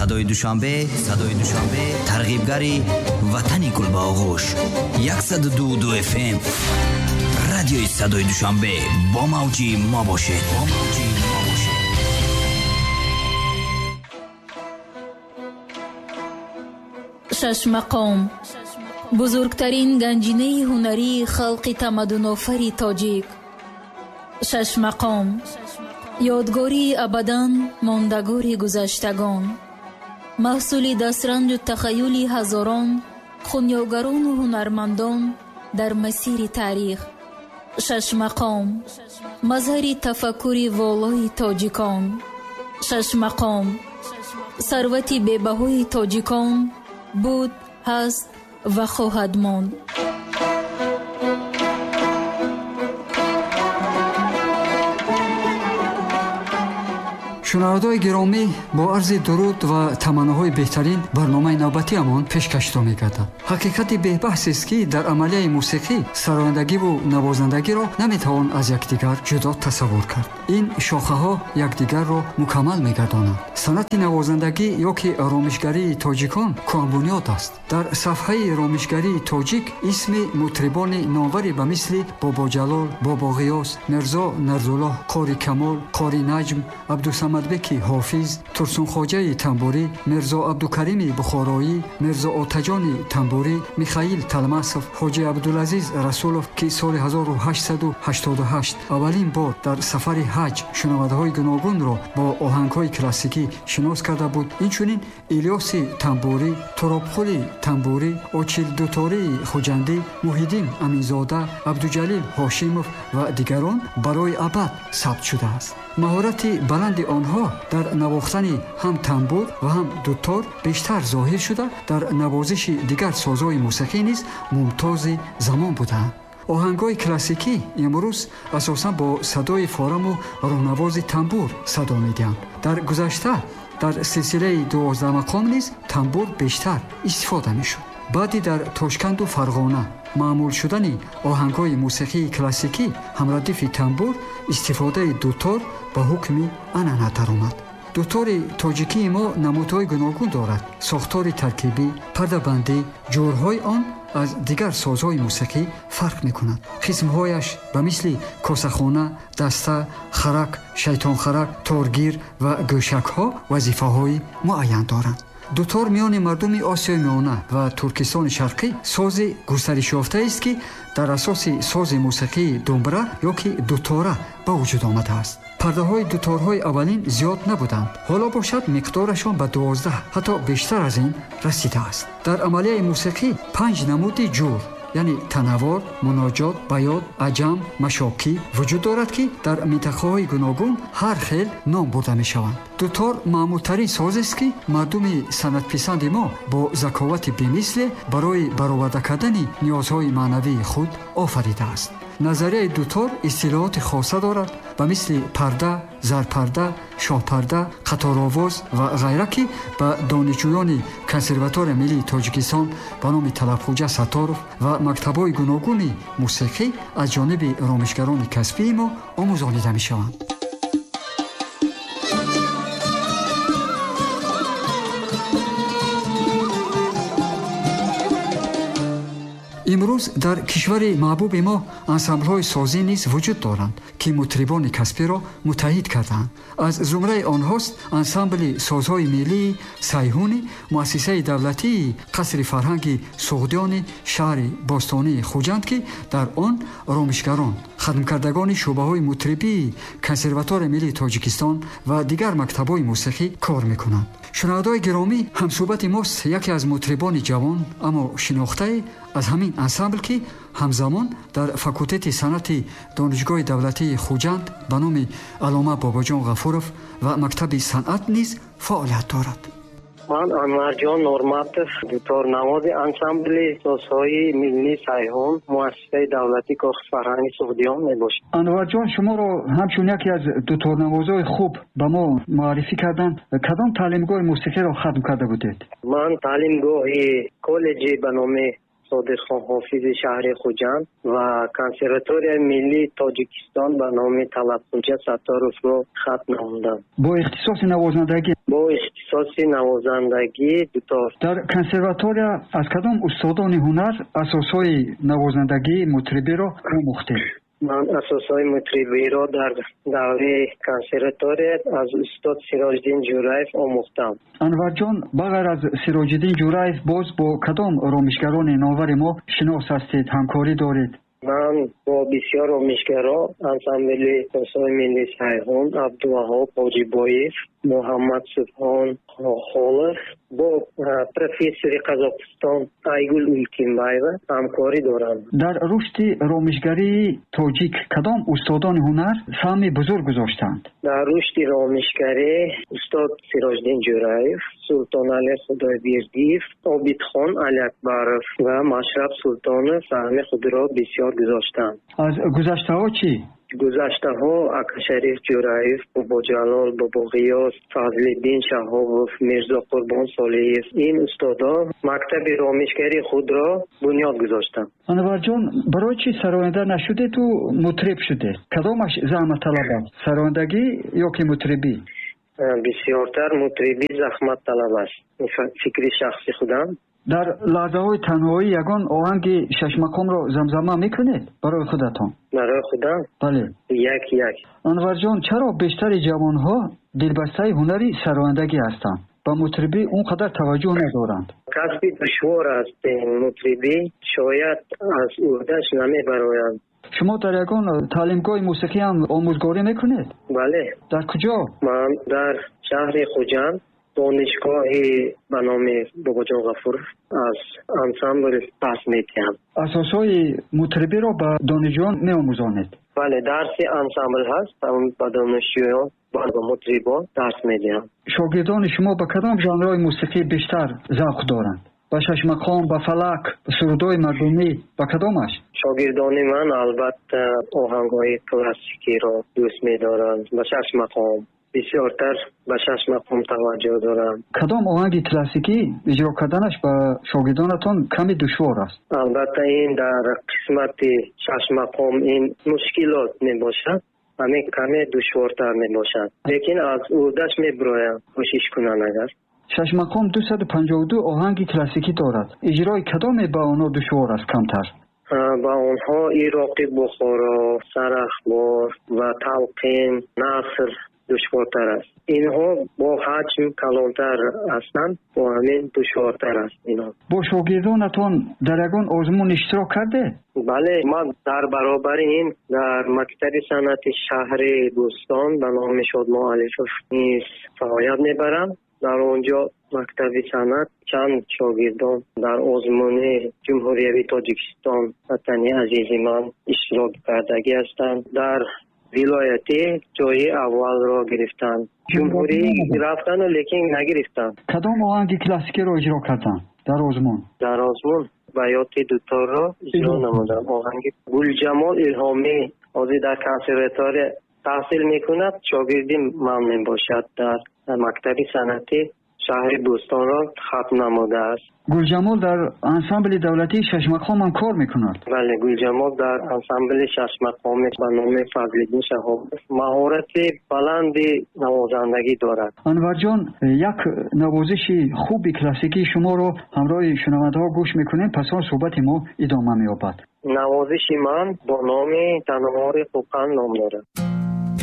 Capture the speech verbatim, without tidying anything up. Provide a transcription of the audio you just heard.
Садои Душанбе, Садои Душанбе, тарғибгари ватани гул ба оғӯш. Яксаду ду ду эф эм. Радиои Садои Душанбе бо мавҷи мо бошед. Бо мавҷи мо бошед. Шашмақом бузургтарин ганҷинаи ҳунарии халқи тамаддунофари тоҷик. Шашмақом ёдгории абадан мондагори гузаштагон, маҳсули дастранҷу тахаюли ҳазорон хунёгарону ҳунармандон дар масири таърих. Шашмақом мазҳари тафаккури волои тоҷикон. Шашмақом сарвати бебаҳои тоҷикон буд, ҳаст ва хоҳад монд. Шунавандаҳои гиромӣ, бо арзи дуруд ва таманноҳои беҳтарин барномаи навбатиамон пешкашто мегардад. Ҳақиқати бебаҳсест, ки дар амалияи мусиқӣ сарояндагиву навозандагиро наметавон аз якдигар ҷудо тасаввур кард. Ин шохаҳо якдигарро мукаммал мегардонанд. Санъати навозандагӣ ё ки ромишгарии тоҷикон кӯҳанбунёд аст. Дар сафҳаи ромишгарии тоҷик исми мутрибони номваре ба мисли Бобоҷалол, Бобоғиёс, Мирзо Нарзуллоҳ, Қори Камол, Қори Наҷм, Абдусамад Беки Ҳофиз, Турсунхоҷаи Тамбурӣ, Мирзо Абдукарими Бухороӣ, Мирзо Отаҷони Тамбурӣ, Михаил Талмасов, Ҳоҷи Абдулазиз Расулов, ки соли ҳазору ҳаштсаду ҳаштоду ҳашт аввалин бор дар сафари ҳаҷ шунавандаҳои гуногунро бо оҳангҳои классикӣ шинос карда буд, инчунин Илёси Тамбурӣ, Туробқули Тамбурӣ, Очилдутории Хуҷандӣ, Муҳиддин Аминзода, Абдуҷалил Ҳошимов ва дигарон барои абад сабт шудааст. Маҳорати баланди онҳо дар навохтани ҳам тамбур ва ҳам дутор бештар зоҳир шуда, дар навозиши дигар созҳои мусиқӣ низ мумтози замон буданд. Оҳангҳои классикӣ имрӯз асосан бо садои фораму роҳнавози тамбур садо медиҳанд. Дар гузашта дар силсилаи дувоздаҳмақом низ тамбур бештар истифода мешуд. Баъди дар Тошканду Фарғона маъмул шудани оҳангҳои мусиқии классикӣ ҳамрадифи тамбур истифодаи дутор ба ҳукми анъана даромад. Дутори тоҷикии мо намудҳои гуногун дорад. Сохтори таркибӣ, пардабандӣ, ҷурҳои он аз дигар созҳои мусиқӣ фарқ мекунад. Қисмҳояш ба мисли косахона, даста, харак, шайтонхарак, торгир ва гӯшакҳо вазифаҳои муайян доранд. Дутор миёни мардуми Осиёи Миёна ва Туркистони Шарқӣ сози густаришёфтаест, ки дар асоси сози мусиқии думбра ё ки дутора ба вуҷуд омадааст. Пардаҳои дуторҳои аввалин зиёд набуданд. Ҳоло бошад миқдорашон ба дувоздаҳ, ҳатто бештар аз ин расидааст. Дар амалияи мусиқӣ панҷ намуди ҷур, яъне танаввор, муноҷот, баёд, аҷам, машокӣ вуҷуд дорад, ки дар минтақаҳои гуногун ҳар хел ном бурда мешаванд. Дутор маъмултарин созест, ки мардуми санъатписанди мо бо заковати бемисле барои бароварда кардани ниёзҳои маънавии худ офаридааст. Назарияи дутор истилоҳоти хоса дорад, ба мисли парда, зарпарда, шоҳпарда, қаторовоз ва ғайра, ки ба донишҷӯёни Консерваторияи миллии Тоҷикистон ба номи Талабхоҷа Сатторов ва мактабҳои гуногуни мусиқӣ аз ҷониби ромишгарони касбии мо омӯзонида мешаванд. Имрӯз дар кишвари маҳбуби мо ансамблҳои созӣ низ вуҷуд доранд, ки мутрибони касбиро муттаҳид кардаанд. Аз зумраи онҳост ансамбли созҳои миллии Сайҳуни, муассисаи давлатии Қасри фарҳанги Суғдиёни шаҳри бостонии Хуҷанд, ки дар он ромишгарон, хатмкардагони шӯъбаҳои мутрибии Консерваторияи миллии Тоҷикистон ва дигар мактабҳои мусиқӣ кор мекунанд. Шунавандаҳои гиромӣ, ҳамсӯҳбати мост яке аз мутрибони ҷавон, аммо шинохтае аз ҳамин ансамбл, ки ҳамзамон дар факултети санъати Донишгоҳи давлатии Хуҷанд ба номи Аллома Бобоҷон Ғафуров ва мактаби санъат низ фаъолият дорад. Ман Анварҷон Норматов, дуторнавози ансамбли созҳои миллии Сайҳун, муассисаи давлатии Кохи фарҳанги Суғдиён мебошам. Анварҷон, шуморо ҳамчун яке аз дуторнавозҳои хуб ба мо муаррифӣ карданд. Кадом таълимгоҳи мусиқиро хатм карда будед? Ман таълимгоҳи коллеҷи ба номи Содиқхон Ҳофизи шаҳри Хуҷанд ва Консерваторияи миллии Тоҷикистон ба номи Талабхоҷа Сатторовро хатм намудам. Бо ихтисоси навозандагӣ? Бо ихтисоси Ихтисоси навозандагии дутор. Дар консерватория аз кадом устодони ҳунар асосҳои навозандагии мутрибиро омӯхтед? Ман асосҳои мутрибиро дар давраи консерватория аз устод Сироҷиддин Ҷӯраев омӯхтам. Анварҷон, ба ғайр аз Сироҷиддин Ҷӯраев боз бо кадом ромишгарони номвари мо шинос ҳастед, ҳамкорӣ доред? Ман бо бисёр ромишгаро ансамбли созҳои миллии Сайҳун, Абдуваҳоб Ҳоҷибоев, Муҳаммад Субҳон Холов, бо профессори Қазоқистон Айгул Улкимбаева ҳамкорӣ дорам. Дар рушди ромишгарии тоҷик кадом устодони ҳунар саҳми бузург гузоштанд? Дар рушди ромишгарӣ устод Сироҷиддин Ҷӯраев, Султонали Худойбердиев, Обидхон Алиакбаров ва Машраб Султонов саҳми худро бисёр гузоштанд. Аз гузаштаҳо чӣ? Гузаштаҳо Акашариф Ҷӯраев, Бобоҷалол Бобоғиёс, Фазлиддин Шаҳобов, Мирзо Қурбон Солиев, ин устодо мактаби ромишгарии худро бунёд гузоштанд. Анварҷон, барои чӣ сароянда нашудед ӯ мутриб шудед? Кадомаш заҳматталаб аст, сарояндагӣ ё ки мутрибӣ? Бисёртар мутрибӣ заҳматталаб аст. Фикри шахси худам. Дар лаҳзаҳои танҳоӣ ягон оҳанги шашмақомро замзама мекунед барои худатон? Барои худам? Бале. Як як. Анварҷон, чаро бештари ҷавонҳо дилбастаи ҳунари сарояндагӣ ҳастанд? Ба мутрибӣ он қадар таваҷҷӯҳ надоранд. Касби душвор аст мутрибӣ, шояд аз уҳдаш намебароянд. Шумо дар ягон таълимгоҳи мусиқӣ ҳам омӯзгорӣ мекунед? Бале. Дар куҷо? Ман дар шаҳри Хуҷанд, донишгоҳи ба номи Бобоҷон Ғафуров аз ансамбл дарс медиҳам. Асосҳои мутрибиро ба донишҷӯён меомӯзонед? Бале, дарси ансамбл ҳаст, ба донишҷӯён, ба мутрибон дарс медиҳам. Шогирдони шумо ба кадом жанрҳои мусиқӣ бештар завқ доранд? Ба шашмақом, ба фалак, ба сурудҳои мардумӣ, ба кадомаш? Шогирдони ман албатта оҳангҳои классикиро дӯст медоранд, ба шашмақом бисёртар ба шашмақом таваҷҷӯҳ дорам. Кадом оҳанги классикӣ иҷро карданаш ба шогирдонатон каме душвор аст? Албатта ин дар қисмати шашмақом ин мушкилот мебошад, ҳамин каме душвортар мебошад, лекин аз уҳдаш мебароям кӯшиш кунанд агар. Шашмақом дусаду панҷоҳу ду оҳанги классикӣ дорад. Иҷрои кадоме ба онҳо душвор аст камтар? Ба онҳо Ироқи Бухоро, Сарахбор ва Талқин, Наср душвортар аст. Инҳо бо ҳаҷм калонтар ҳастанд, бо ҳамин душвортар аст инҳо. Бо шогирдонатон дар ягон озмун иштирок кардед? Бале, ман дар баробари ин дар мактаби санъати шаҳри Бӯстон ба номи Шодмон Алифов низ фаъолият мебарам. Дар он ҷо мактаби санъат чанд шогирдон дар озмуни Ҷумҳуриявии Тоҷикистон ватани азизи ман иштирок кардагӣ ҳастанд. Дар вилоятӣ ҷои аввалро гирифтанд. Ҷумҳурӣ рафтану лекин нагирифтанд. Кадом оҳанги классикиро иҷро карданд дар озмун? Дар озмун Баёти дуторро иҷро намуданд. Оҳанги Гулҷамол Илҳомӣ ҳозир дар консерватория таҳсил мекунад, шогирди ман мебошад, дар мактаби санъати шаҳри Бӯстонро хатм намудааст. Гулҷамол дар ансамбли давлатии шашмақом ҳам кор мекунад? Бале, Гулҷамол дар ансамбли шашмақом ба номи Фазлиддин Шаҳобов маҳорати баланди навозандагӣ дорад. Анварҷон, як навозиши хуби классикии шуморо ҳамроҳи шунавандаҳо гӯш мекунем, пас он суҳбати мо идома меёбад. Навозиши ман бо номи Танҳори Хӯқанд ном дорад.